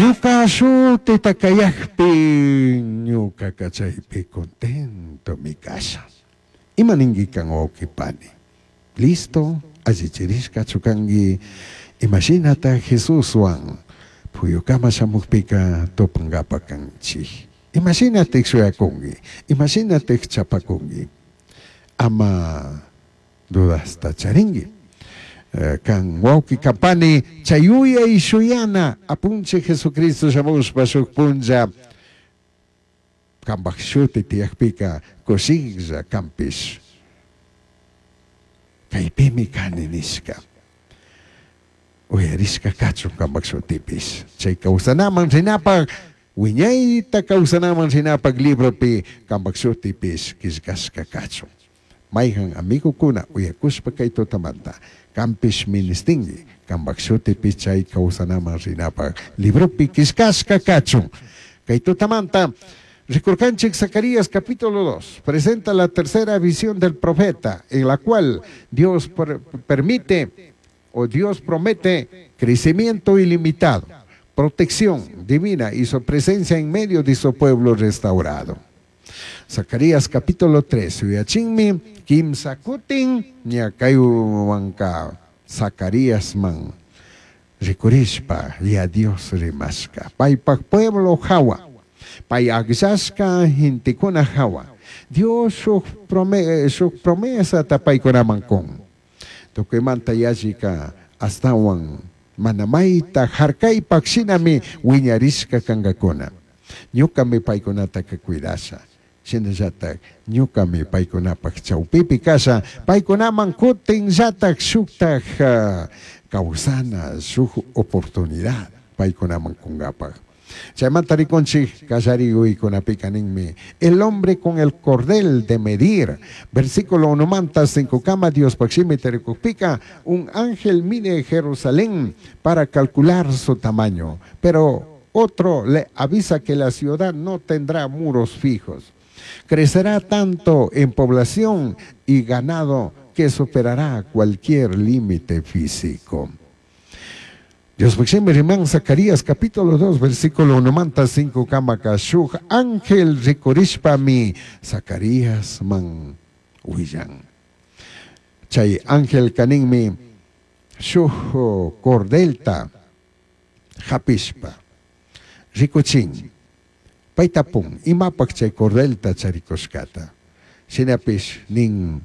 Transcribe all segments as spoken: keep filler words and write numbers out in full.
Ñuka shutita kayakpi ñukaka chaypi contentomi kasha. Ima ninki kan wawqi pani? Listo, allichirishkachu kanki? Imashinata Jesuswan puyukama shamukpika tupankapa kanchik? Imashinatik shuyakunki? Imashinatik chapakunki? Ama dudasta charinki. Kan wawqi kapani chay yuyay shuyana apunchik Jesucristo shamushpa shuk punlla kanpak shuti tiyakpika kushilla kanpish kaypimi kani nishka. Uyarishka kachun kanpak shutipish. Chay kawsanaman rinapak wiñayta kawsanaman rinapak libropi kanpak shutipish killkashka kachun. Mayhan amigokuna uyakushpa kay tutamanta kanpish ministinki kanpak shutipi chay kawsanaman rinapak libropi killkashka kachun. Kay tutamanta rikurkanchik Zacarías capítulo dos presenta la tercera visión del profeta en la cual Dios per permite o Dios promete crecimiento ilimitado, protección divina y su presencia en medio de su pueblo restaurado. Zacarías capítulo tres, uyachinmi kimsa kutin ña kaywanka Zacarías man rikurishpa ya Dios rimashka paypak pueblo hawa, pay akllashka gentekuna hawa. Dios shuk prome, shuk promesata paykunaman kun. Tukuymanta yallika astawan mana mayta harkaypak shinami wiñarishka kankakuna. Ñukami paykunataka cuidasha. Shinallatak ñukami paykunapak chawpipi kasha, paykunaman kutinllatak shuktak uh, kawsana shuk oportunidad paykunaman kunkapak. Chaymanta rikunchik kallariyuykunapika ninmi el hombre con el cordel de medir. Versículo uno manta cinco kama Dios shimi rikukpika un ángel mide Jerusalén para calcular su tamaño, pero otro le avisa que la ciudad no tendrá muros fijos. Crecerá tanto en población y ganado que superará cualquier límite físico. Dios riman Zacarías capítulo dos versículo uno manta cinco kama shuk ángel rikurishpami Zacarías man willan. Chay ángel kaninmi shuk cordelta hapishpa rikuchin. Paytapun imapak chay cordelta charikushkata. Shinapish nin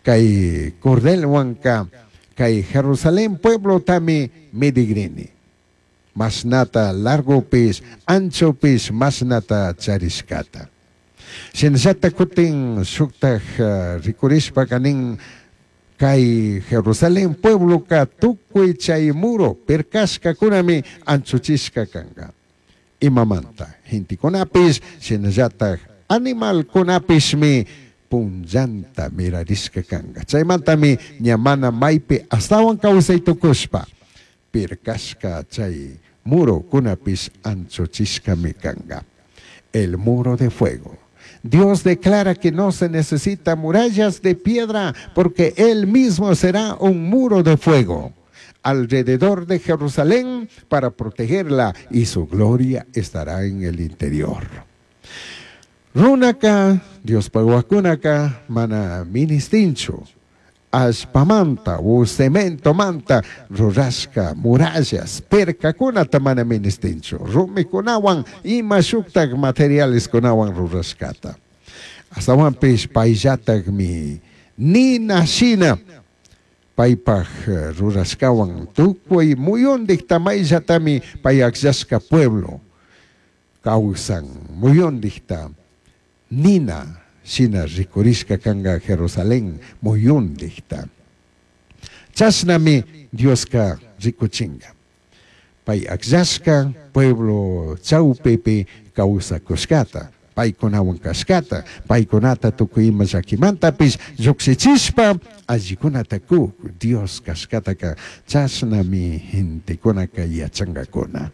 kay cordelwanka kay Jerusalén pueblo tami medigrini. Masnata largopis, anchopis, masnata charishkata. Shinallata kutin shuktaj uh, rikurishpa kanin kay Jerusalén pueblo ka tukuy chay muro pirkashka kunami anchuchishka kanka. Imamanta gentekunapis shinallatak animalkunapishmi punllanta mirarishka kanka. Chaymantami ña mana maypi astawan kawsay tukushpa pirkashka chay muro kunapis anchuchishkami kanka. El muro de fuego. Dios declara que no se necesita murallas de piedra porque Él mismo será un muro de fuego alrededor de Jerusalén para protegerla y su gloria estará en el interior. Runaka, Dios paguakunaka, mana ministinchu, ashpamanta, u cemento manta, rurashka, murallas, perkakunata mana ministinchu, rumikunawan, ima shuktak materiales kunawan rurashkata. Astawanpish payllatakmi nina shina paypaj rurashkawan tukuy muyundik tamayllatami pay akllashka pueblo kawsan muyundikta nina shina rikurishka kanka Jerusalén muyundikta. Chashnami Dioska rikuchinka. Pay akllashka pueblo chawpipi kawsakushkata, paykunawan kashkata, paykunata tukuy ima llakimantapis llukshichishpa allikunata kuk Dios kashkataka chashnami gentekunaka yachankakuna.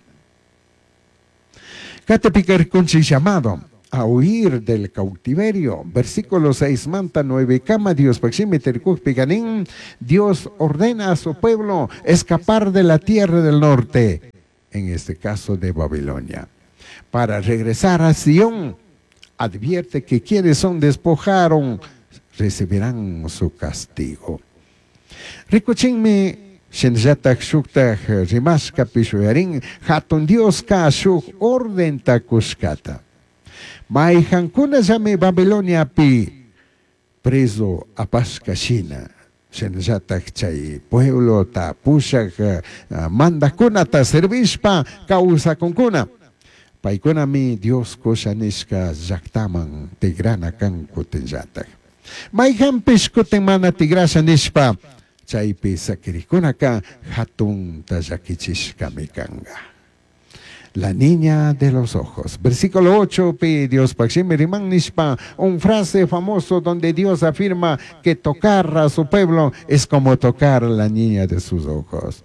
Katipika rikunchik llamado a huir del cautiverio. Versículo seis manta nueve kama Dios pakshimi terikukpi kanin Dios ordena a su pueblo escapar de la tierra del norte. en este caso de Babilonia. Para regresar a Sion, advierte que quienes son despojaron recibirán su castigo. Rikuchinmi shinallatak shuktak rimashkapish uyarin hatun Dioska shuk ordenta kushkata. Mayjankunallami Babiloniapi preso apashka shina shinallatak chay pueblota pushak mandajkunata servishpa kawsakunkuna. Paykunami Dios kusha nishka llaktaman tigrana kan kutinllatak. Mayjanpish kutin mana tigrasha nishpa chaypi sakirikunaka hatunta llakichishkami kanka. La niña de los ojos. Versículo ocho, pi Dios pakshimi riman nishpa, un frase famoso donde Dios afirma que tocar a su pueblo es como tocar a la niña de sus ojos,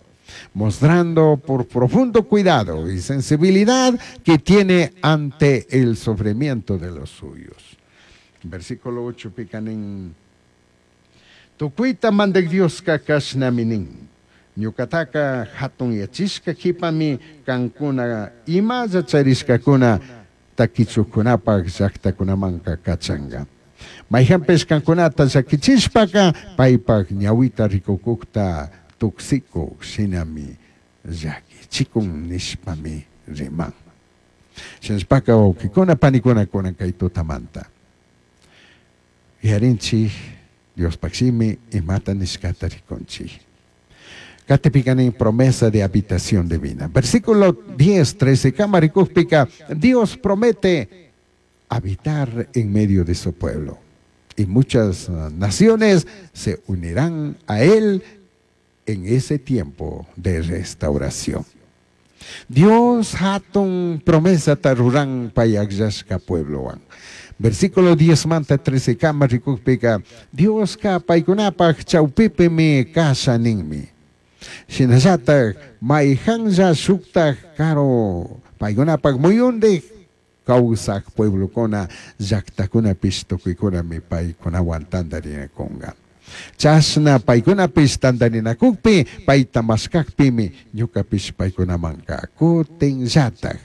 mostrando por profundo cuidado y sensibilidad que tiene ante el sufrimiento de los suyos. Versículo ocho, picanin. Tukuita mandek Dioska kashnaminin. Ñukataka hatun yachishka kipami kankuna imalla charishkakuna takichukunapaj llaktakunamanka kachanga. Mayjanpish kankunata llakichishpaka paypaj ñawita rikukukta tuksiku shinami llakichikun nishpami riman. Shinashpaka wawkikuna panikuna kunan kay tutamanta. Yarinchik Diospaj shimi imata nishkata rikunchik. Katipikanin promesa de habitación divina. Versículo diez, trece, kamarikujpika, Dios promete habitar en medio de su pueblo. Y muchas naciones se unirán a él en ese tiempo de restauración. Dios hatun promesa taruran payakllashka pueblowan. Versículo diez manta trece kamarikujpika, Dios ka paykunapaj chawpipimi kasha ninmi. Shinallatak mayjanlla shuktak karo paykunapaj muyundik kawsak pueblokuna llaktakunapish tukuykunami paykunawan tantarinakunka. Chashna paykunapish tantarinakukpi payta mashkakpimi ñukapish paykunamanka kutinllatak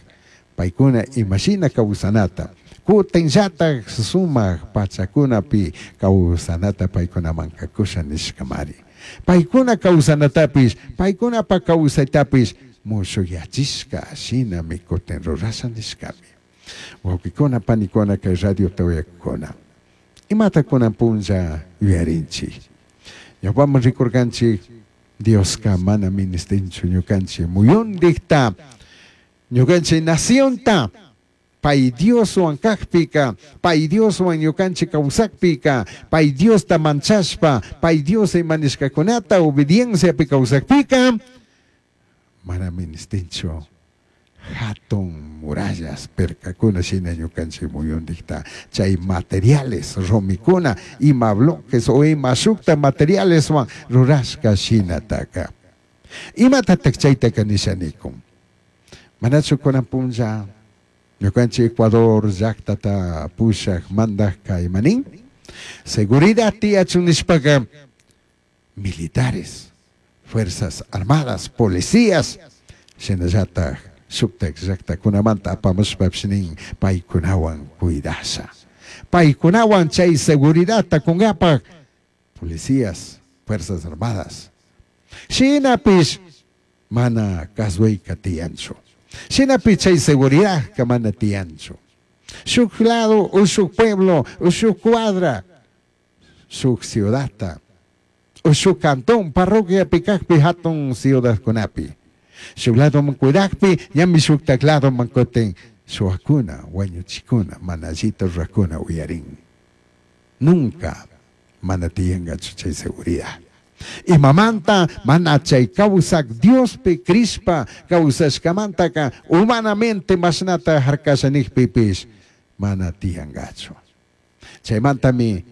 paykuna imashina kawsanata kutinllatak sumak pachakunapi kawsanata paykunamanka kusha nishkamari. Paykuna kawsanatapish, paykunapa kawsaytapish mushuyachishka shinami kutin rurasha nishkami. Wawkikuna panikuna kay radio tawayakuna. Imata kunan punlla yuyarinchik. Ñawpaman rikurkanchik Dioska mana ministinchu ñukanchik muyundikta ñukanchik nacionta pay Dioswan kajpika, pay Dioswan ñukanchik kawsakpika, pay Diosta manchashpa, pay Dios imanishkakunata obedienciapi kawsakpika, mana ministinchu hatun murallas perkakuna shina ñukanchik muyundikta chay materiales rumikuna ima bloques o ima shukta materialeswan rurashka shinataka. Imatatak chaytaka nishanikun. Manachu kunan punlla ñukanchik Ecuador llaktata pushak mandaj kaymanin seguridad tiyachun nishpaka militares, fuerzas armadas, policías shinallatak shuktak llaktakunamanta apamushpapish nin paykunawan cuidasha. Paykunawan chay seguridadta kunkapak policías, fuerzas armadas. Shinapish mana kasuayka tiyanchu. Shinapish chay seguridad mana tiyanchu. Shuk lado, o shuk pueblo, o shuk cuadra, shuk ciudadta, o shuk cantón, parroquia pikakpi hatun ciudadkunapi. Shuk lado man cuidakpi, ñami shuktak lado man kutin shuakuna, wañuchikuna, mana allita rurakuna uyarin. Nunca mana tiyangachu chay seguridad. Imamanta mana chay kawsak Diospi krishpa kawsashkamantaka humanamente mashnata harkasha nikpipish mana tiyangachu. Chaymantami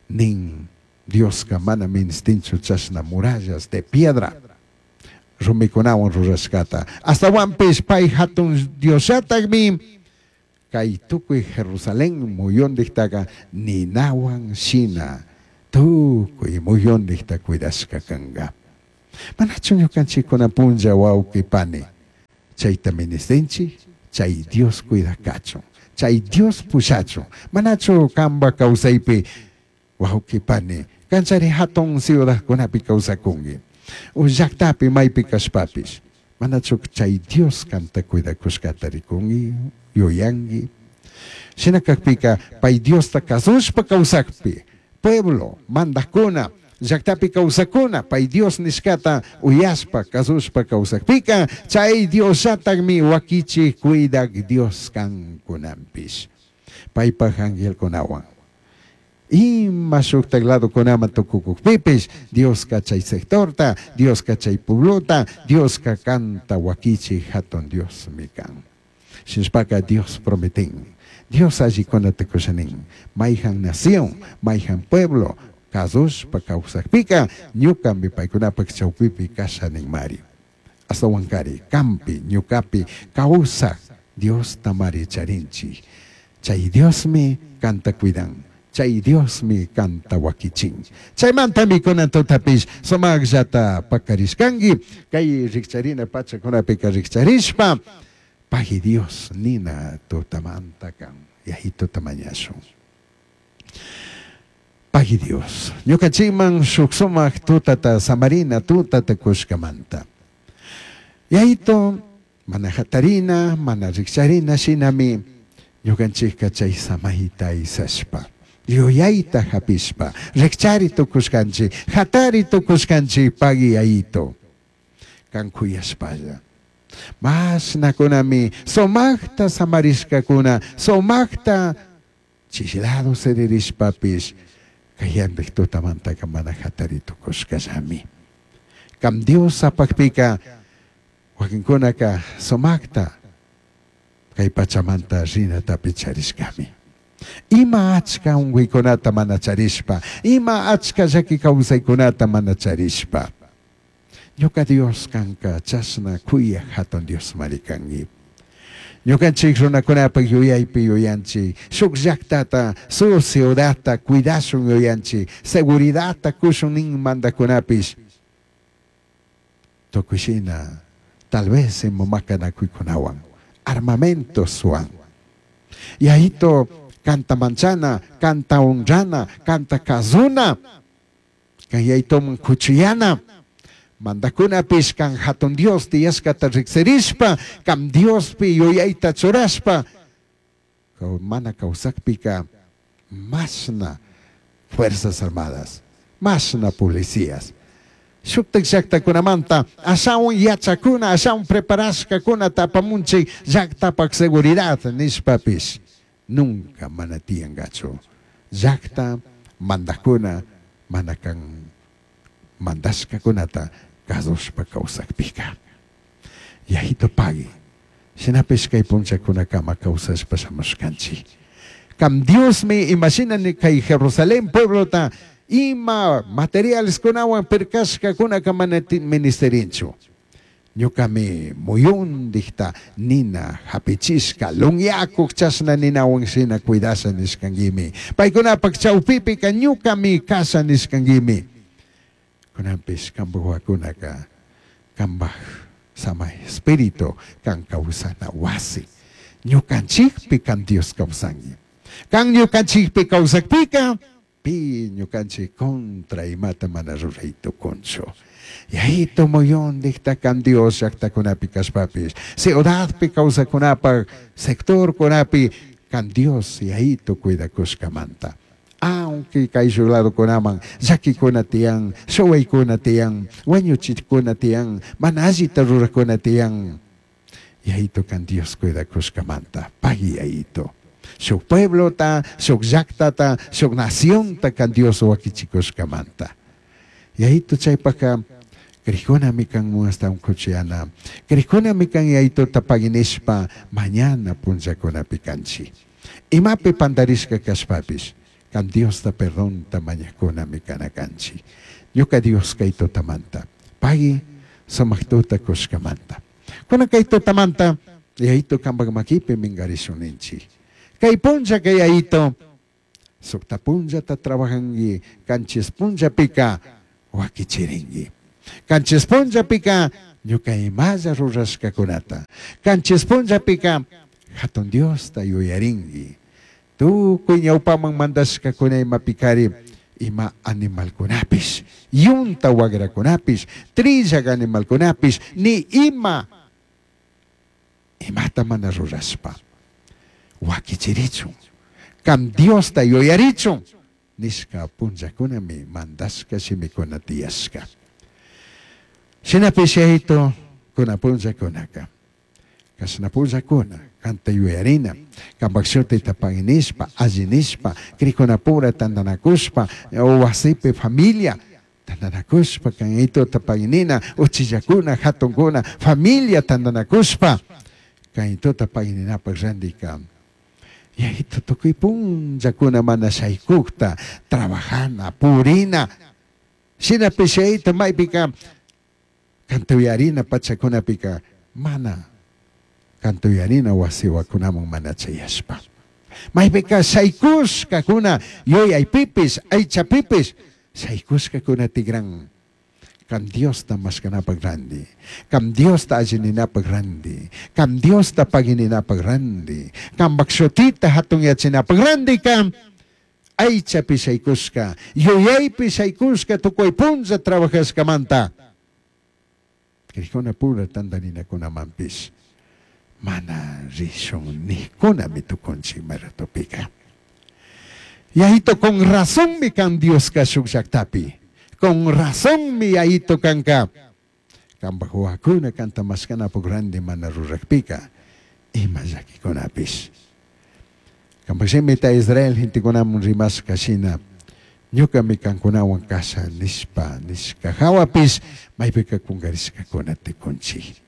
nin Dioska mana ministinchu chashna murallas de piedra rumikunawan rurashkata. Astawanpish pay hatun Diosllatakmi kay tukuy Jerusalén muyundiktaka ninawan shina tukuy muyundikta cuidashka kanka. Manachu ñukanchikkuna punlla wawqi pani Chayta ministinchik, chay Dios cuidakachun, chay Dios pushachun. Manachu kamba kawsaypi wawqipani, kanchari hatun ciudadkunapi kawsakunki. U llaqtapi maypi kashpapish. Manachu chay Dios kanta cuidakushkata rikunki, yuyanki. Shina kakpika pay Diosta kasushpa kawsakpi, pueblo, mandakuna, llaqtapi kawsakuna, pay Dios nishkata uyashpa, kasushpa kawsakpika, chay Diosllatakmi wakichik cuidak Dios kankunanpish. Paypaj angelkunawan. Ima shuktak ladokunaman tukukukpipish, Dioska chay sectorta, Dioska chay pueblota, Dioska kanta wakichik hatun Diosmi kan. Shinashpaka Dios prometin. Dios allikunata kushanin. Mayhan nación, mayhan pueblo, kasushpa kawsakpika, ñukami paykunapak chawpipi kashanin mari. Astawankari, kampi, ñukapi, kawsak, Dios tamari charinchik. Chay Diosmi kanta cuidan. Chay Diosmi kanta wakichin. Chaymantami kunan tutapish sumaqllata pakarishkanki. Kay rikcharina pachakunapika rikcharishpa, pagui Dios nina tutamanta kan. Yayituta mañashun. Pagui Dios. Ñukanchikman shuk sumaq tutata samarina tutata kushkamanta. Yayito mana hatarina, mana rikcharina shinami ñukanchikka chay samayta aysashpa. Yuyayta hapishpa, rikchari tukushkanchik, hatari tukushkanchik pagui yayito. Kan kuyashpalla. Mashnakunami sumaqta samarishkakuna, sumaqta chislado siririshpapish, kayantik tutamantaka mana hatari tukushkallami. Kam Dios apakpika, wakinkunaka sumaqta kay pachamanta rinatapi charishkami. Ima achka unquykunata mana charishpa, ima achka llaki kawsaykunata mana charishpa. Ñuka Dios kanka chashna kuyaq hatun Dios mari kanki. Ñukanchik runakunapak yuyaypi yuyanchik, shuk llaqtata, su ciudadta cuidashun yuyanchik, seguridadta kushun nin mandakunapish. Tukuy shina, tal vez ima makanakuykunawan, armamentoswan. Yayito kanta manchana, kanta honrana, kanta kazuna, kan yayitoman kuchuyana. Mandakunapish kan hatun Dios tiyashkata riksirishpa, kam Diospi yuyayta churashpa, mana kawsakpika mashna fuerzas armadas, mashna policías. Shuktak llaqtakunamanta ashawan yachakuna, ashawan preparashkakuna tapamunchik llaqtapak seguridad nishpapish nunca mana tiyankachu. Llaqta mandakuna mana kan mandashkakunata kasushpa kawsakpika. Yayito pagui. Shinapish kay punchakunakama kawsashpa shamushkanchik. Kam Diosmi imashinani kay Jerusalén pueblota ima materiales kunawan pirkashkakunaka mana ministerinchu. Ñukami muyundikta nina hapichishka lunyakuk chashna ninawan shina cuidasha nishkankimi. Paykunapak chawpipika ñukami kasha nishkankimi. Kunanpish kampak wawakunaka kambaj samay espíritu kan kawsana wasi. Ñukanchikpi kan Dios kawsanki. Kan ñukanchikpi kawsakpika pi ñukanchik contra imata mana ruray tukunchu. Yayito muyundikta kan Dios llaqtakunapi kashpapish, ciudadpi kawsakunapak, sectorkunapi kan Dios yayito cuidakushkamanta. Aunque kay ladokunaman llakikuna tiyan, shuwaykuna tiyan, wañuchikuna tiyan, mana allita rurakuna tiyan. Yayito kan Dios cuidakushkamanta, pagui yayito. Shuk pueblota, shuk llaqtata, shuk nacionta kan Dios wakichikushkamanta. Yayito chaypaka krikunami kan muastawan kuchiyana, krikunami kan yayitota paginishpa mañana punllakunapi kanchik. Imapi pandarishka kashpapish, kan Diosta perdonta mañakunami kana kanchik. Ñuka Dios kay tutamanta, pagui sumaq tuta kushkamanta. Kunan kay tutamanta, yayito kampak makipi minkarishun ninchik. Kay punlla kay yayito, sukta punllata trabajanki, kanchis punllapika wakichirinki. Kanchis punllapika Ñuka imalla rurashkakunata. Kanchis punllapika hatun Diosta yuyarinki. Tukuy ñawpaman mandashkakuna imapikari ima animalkunapish, yunta wagrakunapish, trillak animalkunapish, ni ima imata mana rurashpa wakichirichun, kam Diosta yuyarichun nishka punllakunami mandashka shimikuna tiyashka. Shinapish yayito kuna punllakunaka kashna punllakuna kanta yuyarina, kampak shutita paginishpa, allinishpa, krikunapura tantanakushpa, wasipi familia tantanakushpa, kan yayituta paginina, uchillakuna, hatunkuna, familia tantanakushpa, kan yayituta pagininapak randika. Yayito tukuy punllakuna mana shaykukta, trabajana, purina, shinapish yayito maypika kanta yuyarina pachakunapika mana kanta yuyarina wasiwakunaman mana chayashpa. Maypika shaykushkakuna yuyaypipis, aychapipis, shaykushkakuna tigran. Kam Diosta mashkanapak randi, kam Diosta allininapak randi, kam Diosta pagininapak randi, kampak shutita hatunyachinapak randi kam aychapi shaykushka, yuyaypi shaykushka tukuy punlla trabajashkamanta. Krikuna pura tantarinakunamanpish mana rishun nikunami tukunchik maratopika. Yayito con razón mi kan Dioska shuk llaktapi. Con razón mi yayito kanka. Kampak wawakuna kanta mashkanapuk randi mana rurakpika ima llakikunapish. Kampak shimita Israel gentekunaman rimashka shina ñukami kankunawan kasha nishpa nishka hawapish maypika kunkarishkakuna tukunchik.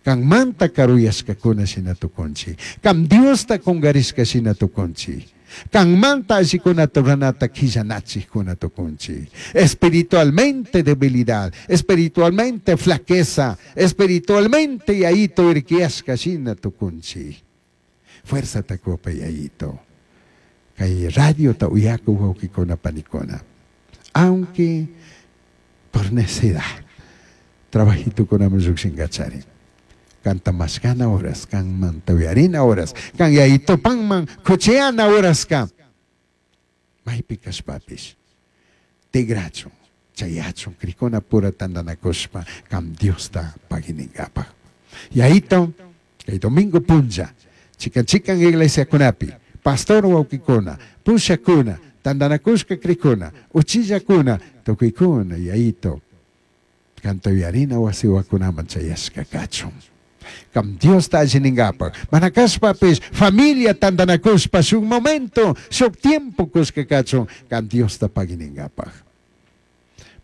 Kanmanta karuyashkakuna shina tukunchik. Kam Diosta kunkarishka shina tukunchik. Kanmanta allikunata ruranata quillanachikkuna tukunchik. Espiritualmente debilidad, espiritualmente flaqueza, espiritualmente yayito irkiyashka shina tukunchik. Fuerza takupa yayito. Kay radio ta uyaku wawkikuna panikuna. Aunque por necedad, trabajitukunaman llukshinkachari. Kanta mashkana horas, kan mantuyarina horas, kan yayitopanman kucheana horas ka. Maypi kashpapish, tigrachun, chayachun, krikuna pura tantanakushpa, kam Diosta pagininkapak. Yayito, kay domingo punlla, chikan chikan iglesiakunapi, pastor wawkikuna, pushakuna, tantanakushka krikuna, uchillakuna, tukuykuna, yayito, kantuyarina wasiwakunaman chayashka kachun. Kam Diosta allininkapak, mana kashpapish, familia tantanakushpa, shuk momento, shuk tiempo kushka kachun, kam Diosta pagininkapak.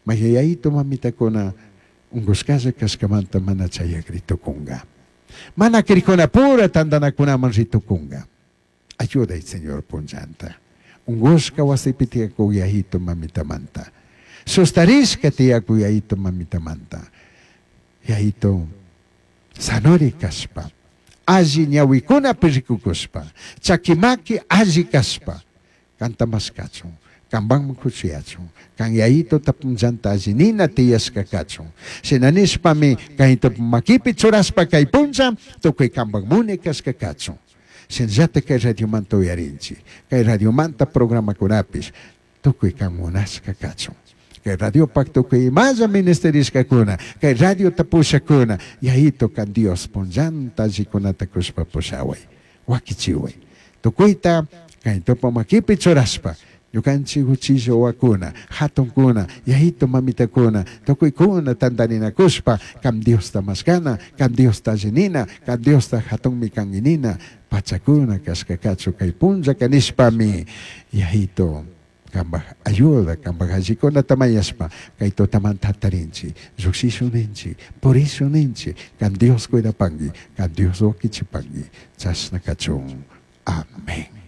Mayayayito mamitakuna, unkushkalla kashkamanta mana chayakritukunga. Mana krikuna pura tantanakunaman ritukunga. Ayuday, Señor, punllanta. Unkushka wasipi tiyakuk yayito mamitamanta. Sustarishka tiyakuk yayito mamitamanta. Yayito, sanori kashpa, alli ñawikunapi rikukushpa, chakimaki alli kashpa, kanta mashkachun, kanpanman kuchuyachun, kan yayito tapunllanta alli nina tiyashka kachun. Shina nishpami kayta makipi churashpa kay punlla, tukuy kanpak muni kashka kachun. Shinallata kay radiomanta uyarinchik, kay radiomanta programakunapish, tukuy kan munashka kachun. Kay radiopak tukuy imalla ministerishkakuna, kay radio tapushakuna, yayito kan Dios punllanta allikunata kushpa pushaway, wakichiway. Tukuyta kay topa makipi churashpa, ñukanchik uchilla wawakuna, hatunkuna, yayito mamitakuna, tukuykuna tantarinakushpa, kam Diosta mashkana, kam Diosta allinina, kam Diosta hatunmi kanginina, pachakuna kashka kachu kay punlla kanishpami, yayito kambaj ayuda, kambaj allikunata mañashpa, kay tutamanta hatarinchik, llukshishuninchik, purishuninchik, kan Dios cuidapanki, kan Dios wakichipanki, chashna kachun. Amén.